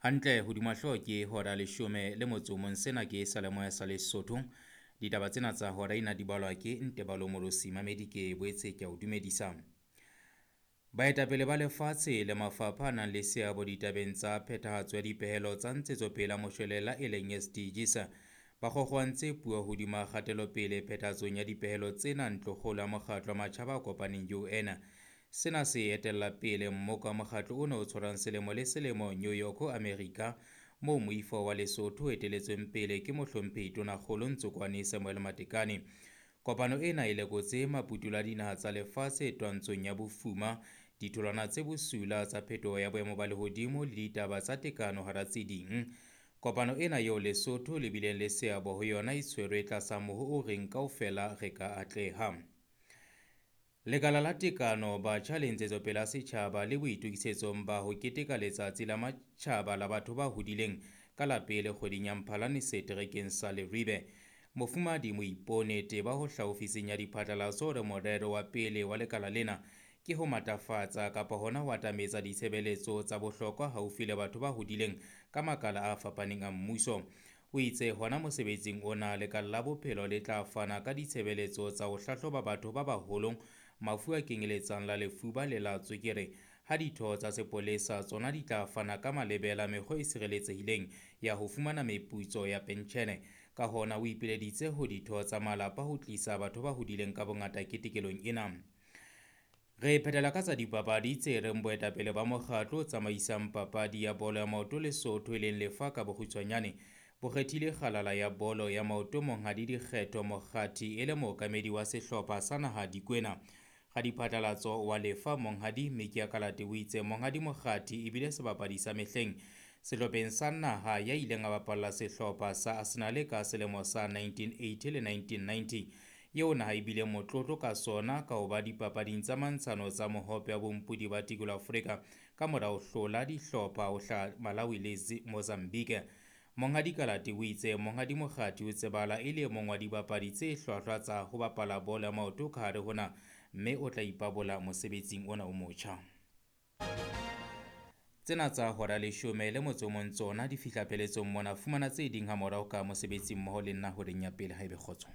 Hantle hodima hlooho ke hora 11. Sena ke Seyalemoya sa Lesotho. Ditaba tsena tsa hora ena di balwa ke Ntebalo Morosi. Mamedi ke boetse ke a o dumedisa. Baetapele ba lefatshe le mafapha a nang le seabo ditabeng tsa phethahatso ya dipehelo tsa ntshetsopele ya moshwelella e leng SDGs ba kgokgoantse puo hodima kgatelopele phethahatsong ya dipehelo tsena ntlokgolo ya mokgatlo wa matjhaba a kopaneng UN. Sena se etella pele mmoka wa mokgatlo ona o tshwarang selemo le selemo New York, America, moo moifo wa Lesotho o eteletsweng pele ke mohlomphehi Tonakgolo Ntsokoane Samuel Matekane. Kopano ena e lekotse maputulo a dinaha tsa lefatshe twantshong ya bofuma, ditholwana tse bosula tsa phetoho ya boemo ba lehodimo le ditaba tsa tekano hara tse ding. Kopano ena eo Lesotho le bileng le seabo ho yona e tshwerwe tlasa moho o reng kaofela re ka atleha. Lekala la tekano, batjha le ntshetsopele ya setjhaba le boitokisetsong ba ho keteka letsatsi la matjhaba la batho ba hodileng ka la pele kgweding ya Mphalane seterekeng sa Leribe. Mofumahadi Moipone Teba ho hlaha ofising ya diphatlalatso hore morero wa pele wa lekala lena ke ho matlafatsa kapa hona ho atametsa ditshebeletso tsa bohlokwa haufi le batho ba hodileng ka makala a fapaneng a mmuso. O itse hona mosebetsing ona lekala la bophelo le tla fana ka ditshebeletso tsa ho hlahloba batho ba baholo mafu a kenyeletsang la lefuba le la tswekere, ha ditho tsa sepolesa tsona di tla fana ka malebela mekgwa e sireletsehileng ya ho fumana meputso ya pentjhele. Ka hona o ipileditse ho ditho tsa malapa ho tlisa batho ba hodileng ka bongata ketekelong ena. Re phethela ka tsa dipapadi tse reng boetapele ba mokgatlo o tsamaisang papadi ya bolo ya maoto Lesotho e leng Lefa ka bokgutshwanyane bo kgethile kgalala ya bolo ya maoto Monghadi Dikgetho Mokgathi e le mookamedi wa sehlopha sa naha Dikwena. Radiphatlalatso wa Lefa Monghadi Mikia Kalate o itse Monghadi Mokgathi ebile sebapadi sa mehleng sehlopheng sa naha ya ileng a bapalla sehlopha sa Arsenal ka selemo sa 1980 le 1990 eo naha ebile motlotlo ka sona ka ho ba dipapading tsa mantshano tsa mohope wa bompodi ba tikolo Afrika ka mora ho hlola dihlopha ho hlaha Malawi le Mozambique. Monghadi Kalate o itse Monghadi Mokgathi o tsebala e le e mong wa dibapadi tse hlwahlwa tsa ho bapala bolo ya maoto ka hare ho na, mme o tla ipabola mosebetsing ona o motjha. Tsena tsa hora 11 tsona di fihla pheletsong mona. Fumana tse ding ha morao ka mosebetsi mmoho le nna horeng ya pele haebe kgotso.